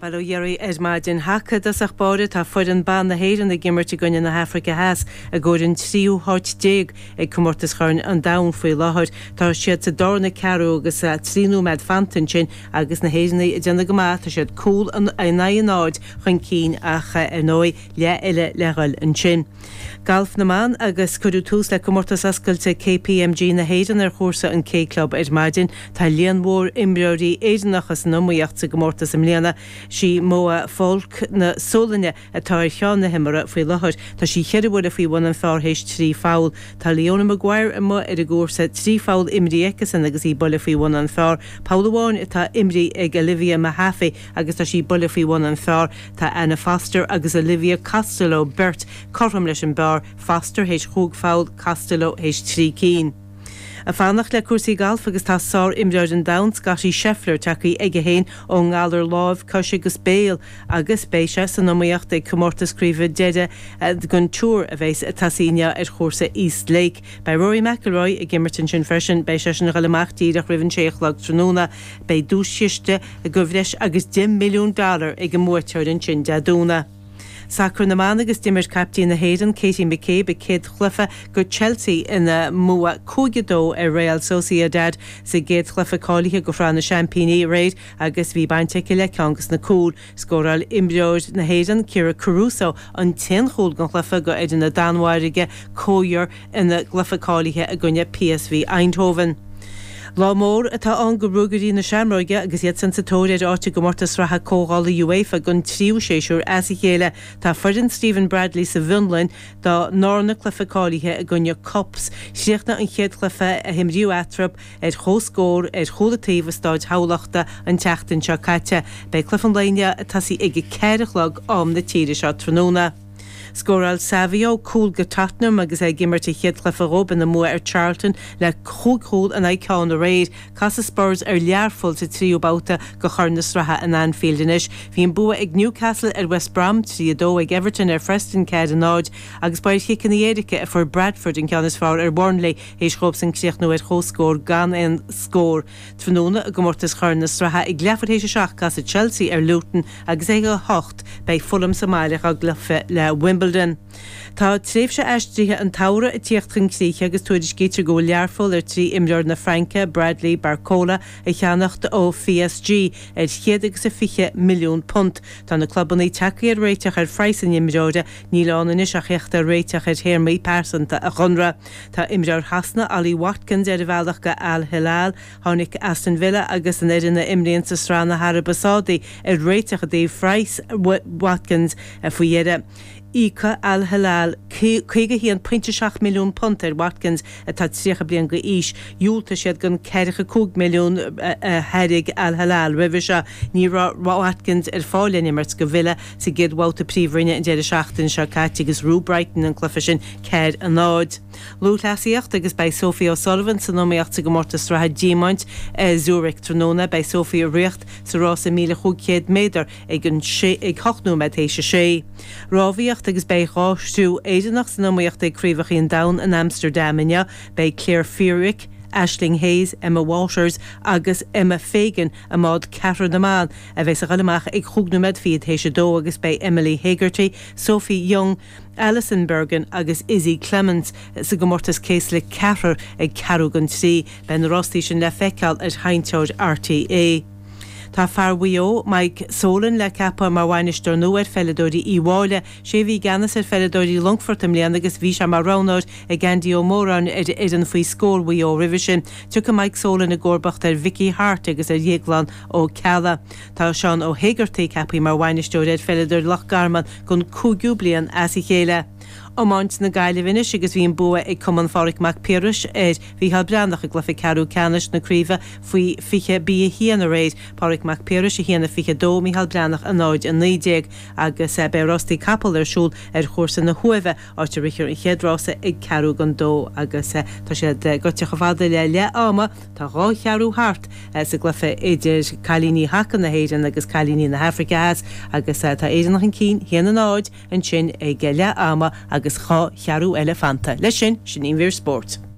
Bail ó Dhia oraibh ar maidin. Haca i dtosach báire, tá foireann ban na hÉireann ag imirt i gcoinne na hAfraice Theas i gcomhair an tríú háit ag Comórtas Chorn an Domhain faoi láthair. Tá siad sa darna ceathrú agus 3 nóiméad fanta ansin agus na hÉireannaigh ag déanamh go maith. Tá siad cúl in aghaidh a náid chun cinn ach ar ndóigh leath eile le dhul ansin. Galf na mban agus cuireadh tús le Comórtas Oscailte KPMG na hÉireann ar chúrsa an K Club ar maidin. Tá líon mhór imreoirí Éireannacha san iomaíocht sa gcomórtas i mbliana. Sí Moa Falk na Sualainne atá ar cheann na himeartha faoi láthair. Tá sí cheithre bhuille faoi bhun an phar théis 3 pholl. Tá Leona Maguire amuigh ar an gcúrsa, 3 pholl imrithe aici-san agus í buille faoi bhun an phar. Poll amháin atá imrithe ag Olivia Mehaffey agus tá sí buille faoi bhun an phar. Tá Anna Foster agus Olivia Costello beirt cothrom leis an bpar, Foster théis chúig pholl, Costello théis 3 cinn. Ag fanacht le cúrsaí gailf agus tá sár-imreoir an domhain, Scottie Scheffler, tagtha aige féin ón ngalar láimh, cois agus béil agus beidh sé san iomaíocht ag comórtas craoibhe deiridh den Tour a bheas ag tosaí inniu ar chúrsa East Lake. Beidh Rory McIlroy ag imirt ansin freisin, beidh seisean a dhul amach díreach roimh an sé a chlog tráthnóna. Beidh duaischiste de bhreis agus $10 milliún ag an mbuaiteoir ansin Dé Domhnaigh. Sacar na mban agus d'imir caiptín na hÉireann, Katie McCabe, a céad chluiche do Chelsea ina mbua 5-2 ar Real Sociedad sa gcéad chluiche cáilithe do Shraith na Seaimpíní aréir agus bhí baint aici le ceann de na cúil. Scóráil imreoir na hÉireann, Kyra Caruso, an t-aon chúl den chluiche do fhoireann na Danmhairge, Køge, ina gcluiche cáilithe i gcoinne PSV Eindhoven. Lá mór atá ann do Ruagairí na Seamróige agus iad san sa tóir ar áit i gcomórtas sraithe comhdhála UEFA don tríú séasúr as a chéile. Tá foireann Stephen Bradley sa bhFionlainn dá ndarna cluiche cáilithe i gcoinne KuPS. Chríochnaigh an chéad chluiche a himríodh eatarthu ar comhscór ar chúl an taobh i Stáid Thamhlachta an tseachtain seo caite. Beidh cluiche an lae inniu ag tosaí ag 4 a chlog am na tíre seo tráthnóna. Scóráil Savio cúl do Tottenham agus é ag imirt a chéad chluiche dhóibh ina mbua ar Charlton le chúig chúl in aghaidh ceann aréir. Casfaidh Spurs ar Learpholl sa tríú babhta de Chorn na Sraithe in Anfield anois. Bhí an bua ag Newcastle ar West Brom, 3, 2, ag Everton ar Phreston, 4, 0, agus ba ar chiceanna éirice a fuair Bradford an ceann is fearr ar Bhurnley théis dhóibhsan críochnú ar comhscór gan aon scór. Tráthnóna i gcomórtas Chorn na Sraithe ag leathuair théis a 7 casfaidh Chelsea ar Luton agus ag a 8 beidh Fulham sa mbaile dá gcluiche le Wimbledon. Tá tréimhse aistrithe an tsamhraidh ag tíocht chun críche agus tuairiscítear go bhfuil Learpholl ar tí imreoir na Fraince, Bradley Barcola, a cheannacht ó PSG ar £120 milliún. Tá na clubanna tagtha ar réiteach ar phraghas an imreora, níl ann anois ach theacht ar réiteach ar théarmaí pearsanta a chonradh. Tá imreoir Shasana, Ollie Watkins, ar a bhealach go Al Hilal. Tháinig Aston Villa agus an fhoireann a imríonn sa Sraith na hAraibe Sádaí ar réiteach i dtaobh phraghas Watkins faoi dheireadh. Íocfaidh Al Hilal £51.7 milliún ar Watkins, atá 30 bliain d'aois. Dhiúltaigh siad don €45 milliún a thairg Al Hilal roimhe seo. Ní raibh Watkins ar fáil le n-imirt do Villa sa gcéad bhabhta Príomhroinne an deireadh seachtaine seo caite agus ghnóthaigh Brighton an cluiche sin 4, 0. Lúthchleasaíocht agus beidh Sophie O'Sullivan san iomaíocht sa gcomórtas sraithe diamaint i Zurich tráthnóna. Beidh Sophie ag ritheacht sa rása 1,500 méadar ag an ag 8 nóiméad théis a sé. Rámhaíocht agus beidh dhá thriú Éireannach san iomaíocht ag Craobhacha an Domhain in Amsterdam inniu. Beidh Claire Feerick, Aisling Hayes, Emma Waters agus Emma Fagan i mbád ceathrar na mban a bheas ag dul amach ag chúig nóiméad fichead théis a dó agus beidh Emily Hegarty, Sophie Young, Alison Bergin agus Izzy Clements sa gcomórtas céaslaí ceathrar ag ceathrú don trí. Beidh na rástaí sin le feiceáil ar sheinnteoir RTÉ. Tá fear Mhaigh Eo, Mike Solan le ceapadh mar bhainisteoir nua ar pheileadóirí Uí Mháille. Sé a bhí i gceannas ar pheileadóirí Longfoirt i mbliana agus bhí sé mar roghnóir ag Andy Ó Móráin ar fhoireann faoi scór Mhaigh Eo roimhe sin. Tiocfaidh Mike Solan i gcomharbacht ar Mhickey Harte agus ar Dhéaglán Ó Ceallaigh. Tá Seán Ó hÉigeartaigh ceaptha mar bhainisteoir ar pheileadóirí Loch Garman don cúigiú bliain as a chéile. Iomáint na Gaillimhe anois agus bhí an bua ag Cumann Phádraig Mac Piarais ar Mhícheál Breathnach i gcluiche ceathrú ceannais na craoibhe faoi 20 B1 aréir. Pádraig Mac Piarais 1-22, Mícheál Breathnach 0-19 agus beidh rástaí capall ar siúl ar chúrsa na hUaimhe áit a rithfear an chéad rása ag ceathrú don dó agus tá siad gaibhte chomh fada le leath ama. Tá dhá cheathrú thart sa gcluiche idir cailíní haca na hÉireann agus cailíní na hAfraice Theas agus tá Éireann chun cinn, 1-0, ansin ag leath ama agus dhá cheathrú eile fanta. Leis sin, sin í an mhír spóirt.